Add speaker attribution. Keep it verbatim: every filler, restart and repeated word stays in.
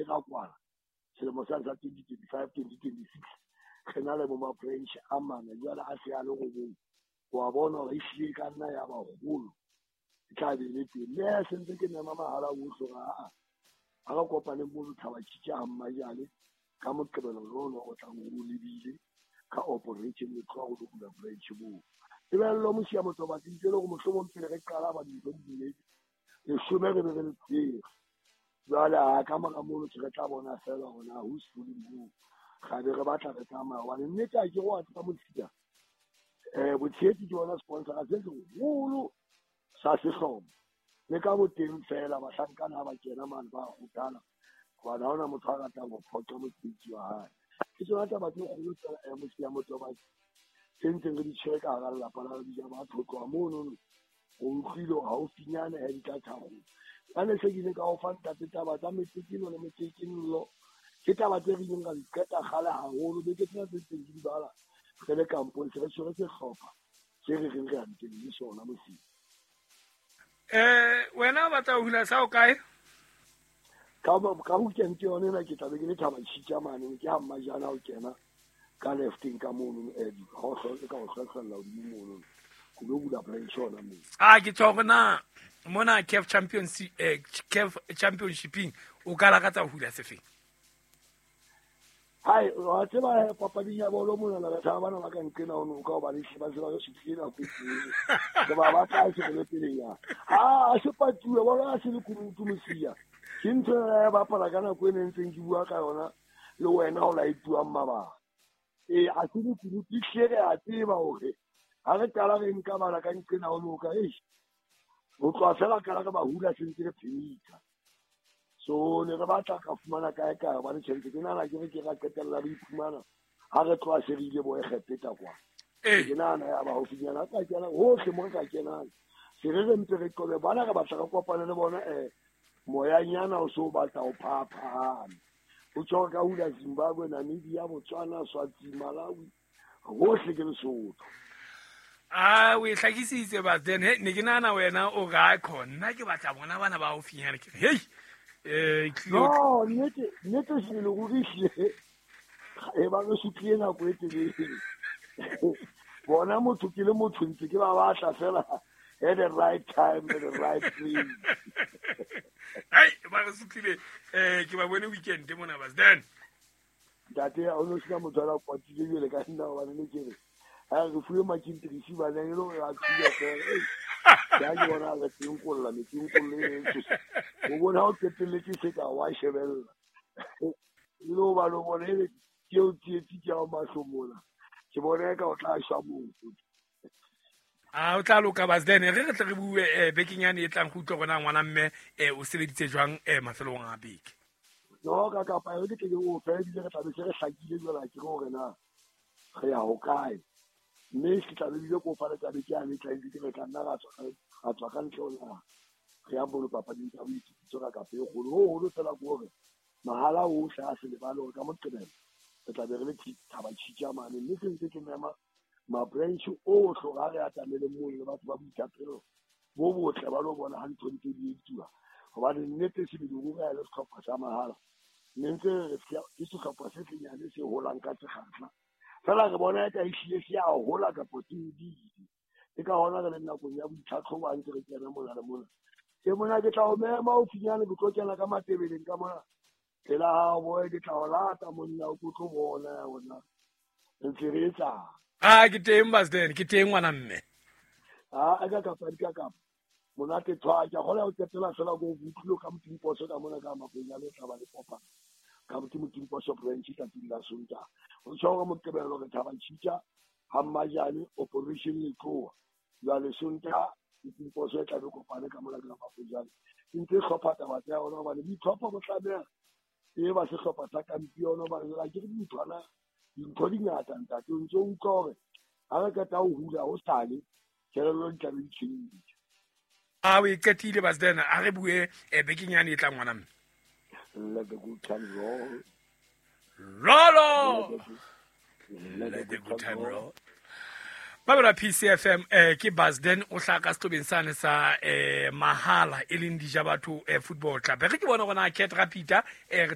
Speaker 1: ra kwala selemo sa sa twenty twenty-five twenty twenty-six re na le bo ma-branch a mane jwale a se a le robong. Wa bona hore ehlile ka nna ya ba holo e tla be le teng. Mme se ntse ke nema mahala ohle hore aa ha re kopane mono Thaba Tshitja ha Mmajane ka Moqebelo ono o tlang o lebile ka operation le tloha ho lo bula branch moo. Tebello Mosia Motobatsi ntse le hore mohlomong pele re qala ba dintho di dumetse leshome re be re le tsere. Jwale ha ka mora mono re tla bona fela hore na who's fooling who. Ga be re batla re tsamaya hobane nnete ha ke go a tseba Mosia. Eh botshehetsi ke bona sponsor se seholo sa sehlopha. Le ka boteng fela bahlankana ha ba kena mane ba kgothala hobane ha hona motho a ratang ho phoqa mosebetsi wa hae. Ke tsona taba tse kgolo tsa Mosia Motobatsi tse ntseng re di tshwere ka hara lelapa la dija batho ho tloha monono o utlwile hore haufinyane ha di tla tharollo. Jwale se ke ile ka o fa ntate taba tsa metsekelo le metsekello ke taba tse re ileng ra di qeta kgale haholo. Beke tsena tse ntseng ke di bala re le kampong se re tshwere sehlopha se re reng re ya ntweng le sona Mosia.
Speaker 2: Eh wena o batla ho hula sa o kae?
Speaker 1: Ka ka weekend yone ena ke tla be ke le Thaba Tshitja mane ke ha Mmajane o kena ka lefteng ka mono eh ha o hloka ka o hlohlella hodimo mono go lo bula branch yona moo.
Speaker 2: Ah ke tshwa na mona C A F Champions eh C A F Championshiping o ka lakatsa ho hula sefeng?
Speaker 1: Hai wa tseba papading ya bolo mona la batho bana ba ka nqena ho ka hobane ba se ba re sutlile nako e telele. Ke ba batla se le pele ya. Ah a se patuwe bolo a se le kunutu Mosia. Ke ntho ya bapala ka nako e ne ntseng ke bua ka yona le wena o la ituang mabaka. E a se le kunutu hle re a tseba hore ha re qala re nka bana ka nqena ho noka eish. Ho tloha fela qala re ba hula se ntse re phemitsa. So ne re batla ka fumana kae kae hobane tjhelete ke nahana ke re ke ra qetella re iphumana ha re tloha se re ile bo Egepeta kwa. Ke nahana ya ba haufinyana ka kena hohle mo re ka kenang. Se re re ntse re qobe bana re batla re kopane le bona eh moyanyana o so batla ho phaphahama. O tjho ka hula Zimbabwe, Namibia, Botswana, Swazini, Malawi hohle ke Lesotho.
Speaker 2: Ah o e hlakisitse but then he ne ke nahana wena o ra khona ke batla bona bana ba haufinyana ke hey eh
Speaker 1: no nnete nnete se le ruri hle e ba re sutlile nako e telele. Bona motho ke le motho ntse ke ba batla fela at the right time at the right place.
Speaker 2: Hey ba re sutlile eh ke ba bone weekend mona bas then
Speaker 1: ntate o no sina motho a kwatile jwale ka nna hobane ne ke re ha re fuwe makintrisi ba ne le hore a thuya fela. Ya ke bona re teng kolla metseng kolle e tsosa. O bona o qetelletse se ka wa shebella. Le o ba lo bona e ke o tsietsi ke ao mahlo mona. Ke bona ka o tla shwa motho.
Speaker 2: Ah o tla loka bas then re re tle re bue eh bekeng yane e tlang go utlwa gona ngwana mme eh o sebeditse jwang eh mafelong a beke.
Speaker 1: No ka kapa e ke ke o fedile re tla be se re hlakile jwale ke hore na re ya ho kae. Mme ke tla be bile ko fa le tla be ke a tla ke re tla nna ra tswa ra tswa ka ntle ho naha. Re ya bolo papading tsa boitsebiso ka kapa e kgolo ho holo fela ke hore mahala ohle a se lebale hore ka Moqebelo re tla be re le Thaba Tshitja mane. Mme se ntse ke mema ma-branch ohle hore ha re atamele moo le batho ba boithapelo bo botle ba lo bona ha ntho ntse di etsuwa. Hobane nnete sebele ruri ha e le sehlopha sa mahala ne ntse re ke sehlopha se senyane se holang ka sekgahla. Fela re bona eka ehlile se a hola kapa se hodile. Ke ka hona re le nakong ya boitlhatlhobo ha ntse re kena mona le mona. Ke mona ke tla o mema haufinyane ke tlo kena ka Matebeleng ka mona. Pela hao boy ke tla o lata monna o tlo bona ya bona. Ntse re etsang.
Speaker 2: Ah ke teng bas then ke teng ngwana mme.
Speaker 1: Ah aka kapa di ka kapa. Monate thwa ke kgona ho qetela fela go utlwile ka Motimposo ka mona ka Makwenya le tla ba le kopana. Ka Motimposo branch tsatsing la Sontaha. O tjho hore Moqebelo re Thaba Tshitja ha Mmajane operation le tloha. Jwale Sontaha Motimposo e tla be kopane ka mona ka Makwenya. Ntse hlopha taba tsa yona hobane ditlhopha bo tlameha e ba sehlopha sa kampione hobane la ke dinthwana dintho di ngata ntate o ntse o utlwa hore ha re qeta ho hula ho sale kelello di tla be di tjhentjhe.
Speaker 2: Ah o e qetile bas then a re bue eh bekeng yane e tlang ngwana mme.
Speaker 1: Let the good time roll.
Speaker 2: Rollo. Let the good time roll. Babela P C F M eh ke Basden o hlaka sehlobeng sane sa eh mahala e leng dija batho eh football club. Re ke bona gona Cat Rapida eh re tla